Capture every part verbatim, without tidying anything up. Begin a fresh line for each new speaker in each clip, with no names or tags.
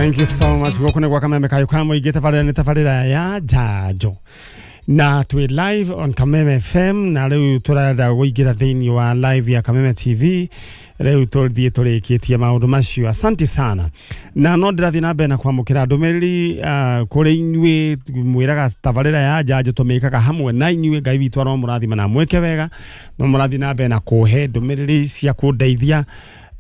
Thank you so much. Gũkũ nĩ gwa Kameme Kayũ ka Mũingĩ, tabarĩra nĩ tabarĩra ya Njanjo na twĩ live on Kameme F M, na rĩu tũrenda kũingĩra thĩinĩ wa live ya Kameme T V. Rĩu tũthiĩ tũrĩkĩtie maũndũ macio. Asante sana. Na no ndĩrathiĩ na mbere na kwamũkĩra ndũmĩrĩri uh, kũrĩ inyuĩ mwĩraga tabarĩra ya Njanjo tũmĩkaga hamwe na inyuĩ. Ngai witũ aromũrathima na mwĩke wega. No mũrathiĩ na mbere na kũhe ndũmĩrĩri cia kũndeithia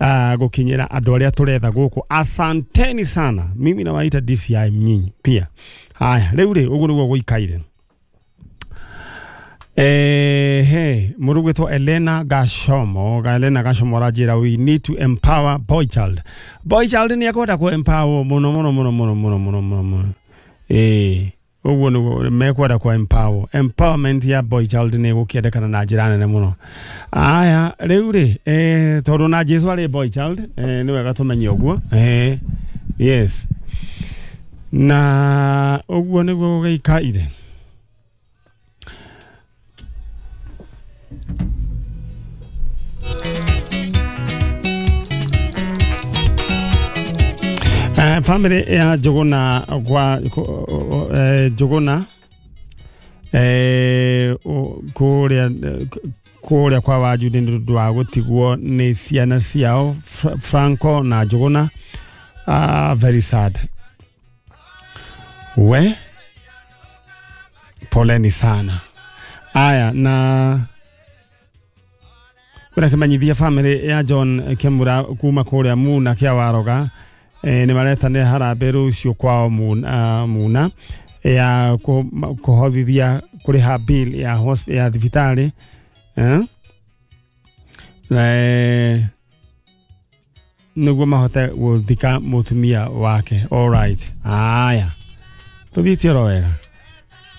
Uh, gukinyira andũ arĩa tũretha gũkũ. Asanteni sana. Mimi nawaita D C I nyinyi pia. Haya, rĩu rĩ ũguo nĩguo gũikaire. Eh, hey, mũndũ gwĩtwo Elena Gashomo, ga Elena Gashomo aranjĩra we need to empower boy child. Boy child nĩ ekwenda kũ empower mũno mũno mũno mũno mũno mũno mũno mũno. Eh, ũguo nĩguo mekwenda kũ empower. Empowerment ya boy child nĩ gũkĩendekana na njĩra nene mũno. Aya, rĩu rĩ, eh, tondũ na Jesu arĩ boy child, eh, nĩ wega tũmenye ũguo. Eh, yes. Na ũguo nĩguo gũgĩikaire. Uh, family ya Njuguna kwa eh, Njuguna eh, kuria kuria kwa Wajude nĩ ũndũ wa gũtigwo nĩ ciana ciao Franco na Njuguna. Ah, very sad. We poleni sana. Aya, na kuna kĩmenyithia family ya John Kemura kuma kũrĩa Muna kĩa Waroga, eh, nĩ maretane harambee rũciũ kwao Muna, Muna ya kũhothithia kũrĩha bill ya hosp ya thibitarĩ, eh? Eh, nĩguo mahote gũthika mũtumia wake. All right. Aya, tũthiĩte oro wega.